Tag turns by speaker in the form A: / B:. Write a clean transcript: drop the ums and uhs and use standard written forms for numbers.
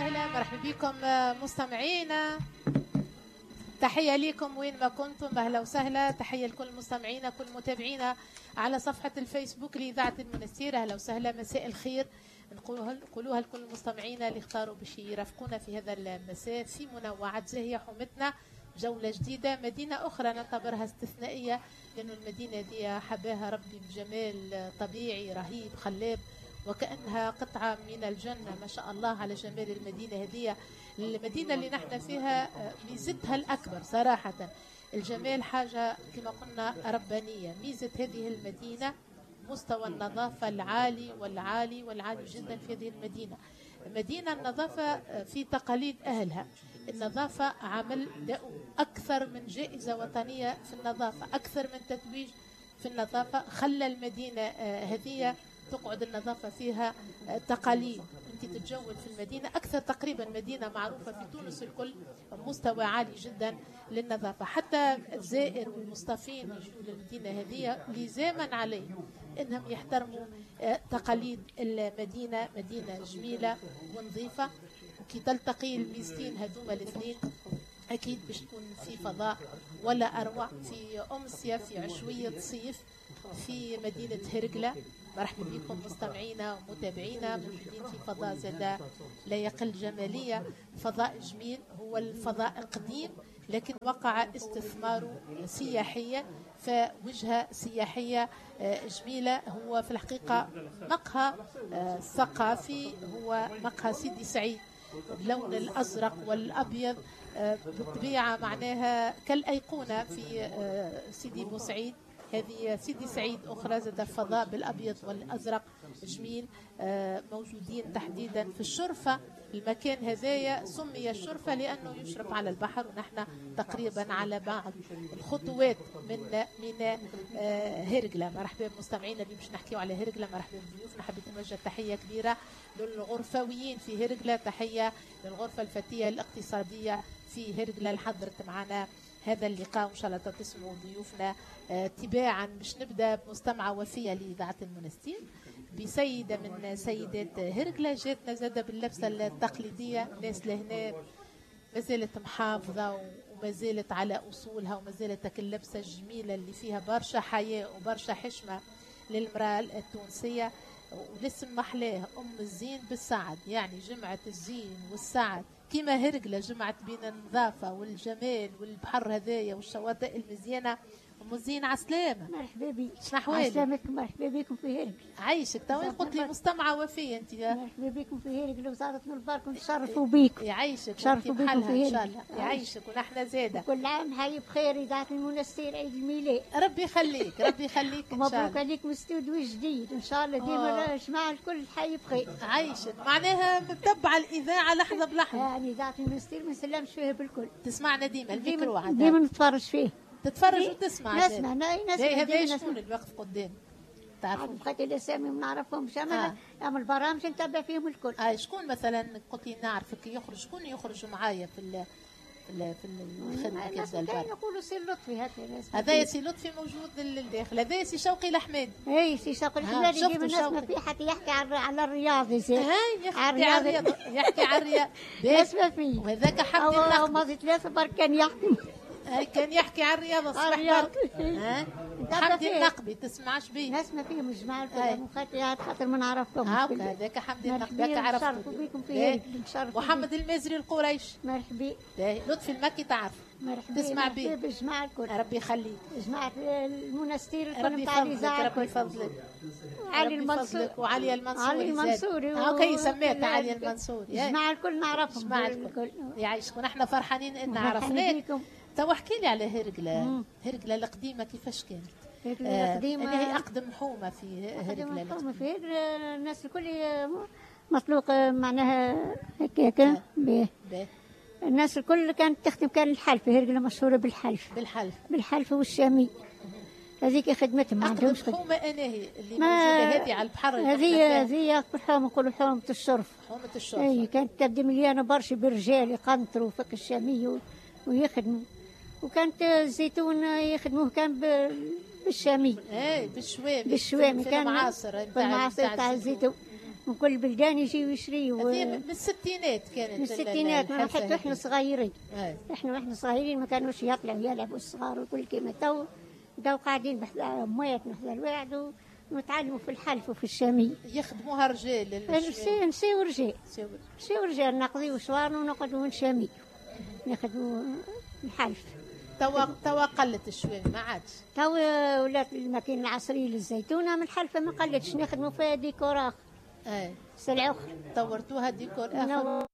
A: وسهلا، مرحبا بكم مستمعينا، تحية لكم وين ما كنتم، أهلا وسهلا. تحية لكل مستمعينا، كل متابعينا على صفحة الفيسبوك لإذاعة المنستير، أهلا وسهلا، مساء الخير نقولوها لكل مستمعينا اللي اختاروا باش يرافقونا في هذا المساء في منوعات زاهية حومتنا، جولة جديدة، مدينة أخرى نعتبرها استثنائية لأنه المدينة دي حباها ربي بجمال طبيعي رهيب خلاب، وكأنها قطعة من الجنة، ما شاء الله على جمال المدينة هذه. المدينة اللي نحن فيها ميزتها الأكبر صراحة الجمال، حاجة كما قلنا ربانية. ميزة هذه المدينة مستوى النظافة العالي والعالي والعالي جدا في هذه المدينة. مدينة النظافة في تقاليد أهلها، النظافة عمل أكثر من جائزة وطنية في النظافة، أكثر من تتويج في النظافة، خلى المدينة هذه تقعد النظافة فيها تقاليد. انت تتجول في المدينة أكثر تقريبا مدينة معروفة في تونس الكل، مستوى عالي جدا للنظافة، حتى الزائر والمصطفين يجوا للمدينة هذه لزاما عليهم انهم يحترموا تقاليد المدينة. مدينة جميلة ونظيفة، وكي تلتقي الميزتين هذوما الاثنين أكيد باش تكون في فضاء ولا أروع، في أمسية، في عشوية صيف في مدينة هرقلة. مرحبا بكم مستمعينا ومتابعينا، موجودين في فضاء زاد لا يقل جمالية، فضاء جميل، هو الفضاء القديم لكن وقع استثماره سياحيا، فوجهة سياحية جميلة. هو في الحقيقة مقهى ثقافي، هو مقهى سيدي سعيد باللون الأزرق والأبيض، بالطبيعة معناها كالأيقونة في سيدي بوسعيد. هذه سيدي سعيد أخرى زاد فضاء بالأبيض والأزرق جميل، موجودين تحديدا في الشرفة. المكان هذايا سمي الشرفة لأنه يشرف على البحر، ونحن تقريبا على بعض الخطوات من ميناء هرقلة. مرحبا بمستمعينا اللي باش نحكيو على هرقلة، مرحبا بضيوفنا. حبيت نوجه تحية كبيرة للغرفويين في هرقلة، تحية للغرفة الفتية الاقتصادية في هرقلة اللي حضرت معنا هذا اللقاء، وإن شاء الله تسمعوا ضيوفنا تباعا. باش نبدا بمستمعة وفية لإذاعة المنستير، بسيدة من سيدات هرقلة جاتنا زادة باللبسة التقليدية. ناس لهنا ما زالت محافظة وما زالت على أصولها، وما زالت اللبسة الجميلة اللي فيها برشا حياء وبرشا حشمة للمرأة التونسية. والاسم محلاه، أم الزين بالسعد، يعني جمعة الزين والسعد كما هرقلة جمعت بين النظافة والجمال والبحر هذايا والشواطئ المزيانة. أم الزين عسلامة.
B: مرحبا بك.
A: شنو أحوالك؟
B: عسلامتك، مرحبا بكم في هرقلة.
A: عايشك. تو قلت لي مستمعة وفية أنت.
B: مرحبا بكم في هرقلة وزارة من البرك، ونتشرفوا بكم.
A: يعيشك.
B: نتشرفوا بكم في هرقلة
A: إن شاء الله. يعيشك ونحن زادة.
B: كل عام حي بخير إذاعة المنستير عيد الميلاد.
A: ربي يخليك، ربي يخليك إن شاء الله.
B: مبروك عليكم استوديو جديد إن شاء الله، ديما الجماعة الكل حي بخير.
A: عايشك، معناها متبعة الإذاعة لحظة بلحظة.
B: يعني إذاعة المنستير ما نسلمش فيها بالكل.
A: تسمعنا ديما الميكرو
B: ديما نتفرج فيه.
A: تتفرج وتسمع.
B: نسمع، نسمع.
A: هذا شكون اللي واقف قدام؟ تعرفوا؟
B: بقيت الاسامي ما نعرفهمش، اما البرامج نتبع فيهم الكل.
A: شكون مثلا قلت لي نعرفك يخرج، شكون يخرج معايا في في الخدمة كذا البر؟
B: يقولوا سي لطفي هكا.
A: هذا سي لطفي موجود للداخل، هذا سي شوقي الحمادي.
B: اي سي شوقي الحمادي ديما نسمع فيه حتى يحكي على الرياضي زين.
A: يحكي على الرياضة، يحكي على الرياضة.
B: نسمع فيه.
A: وهذاك حمدي النقد.
B: ماضي ثلاثة برك كان يحكي.
A: كان يحكي على الرياضة الصباح برك. حمدي النقبي تسمعش بيه؟
B: نسمع فيهم الجماعة الكل خاطر ما نعرفهمش.
A: هذاك حمدي النقبي هكا عرفته.
B: نتشرفوا بكم في هرقلة.
A: محمد المازري القريش.
B: مرحبا.
A: لطفي المكي تعرف.
B: مرحبا.
A: تسمع بيه.
B: مرحبا بالجماعة الكل.
A: ربي يخليك.
B: جماعة المنستير الكل نتاع الإذاعة.
A: ربي يفضلك.
B: علي المنصوري.
A: وعلي المنصوري.
B: علي المنصوري.
A: هاكا سميت علي المنصوري.
B: الجماعة الكل نعرفهم.
A: الجماعة الكل. يعيشك، ونحن فرحانين ان عرفناك. تو احكي لي على هرقلة، هرقلة القديمة كيفاش كانت؟
B: هرقلة القديمة
A: اللي هي أقدم حومة في هرقلة.
B: أقدم حومة في هرقلة، الناس الكل مطلوق معناها هكاك. الناس الكل كانت تخدم، كان الحلف، هرقلة مشهورة بالحلف.
A: بالحلف.
B: بالحلف والشامي. هذيك خدمتهم، ما عندهمش
A: خدمة. حومة أناهي اللي موجودة هذه على البحر؟
B: هذه أكبر حومة، نقولوا حومة الشرف.
A: حومة الشرف.
B: أي كانت تبدا مليانة برشا بالرجال يقنطروا فك الشامي ويخدموا. وكانت الزيتون يخدموه كان بالشامي.
A: اي بالشوامي.
B: بالشوامي
A: كان المعاصر
B: تاع الزيتون. من كل البلدان يجيو يشريوا.
A: هذه من الستينات كانت.
B: من الستينات، حتى احنا صغيرين. احنا صغيرين ما كانوش يطلعوا يلعبوا الصغار وكل كيما تو. بداو قاعدين بحذا امواتنا بحذا الواحد ونتعلموا في الحلف وفي الشامية.
A: يخدموها رجال.
B: نسيو رجال، نسيو رجال، نقضيو شوارنا ونقعدوا نشاميو ناخذوا الحلف.
A: توا قلت الشوامي ما عادش.
B: توا ولات الماكينة العصرية للزيتونة، من الحلفة ما قلتش، نخدموا فيها ديكور آخر. سلعة أخرى.
A: طورتوها ديكور آخر.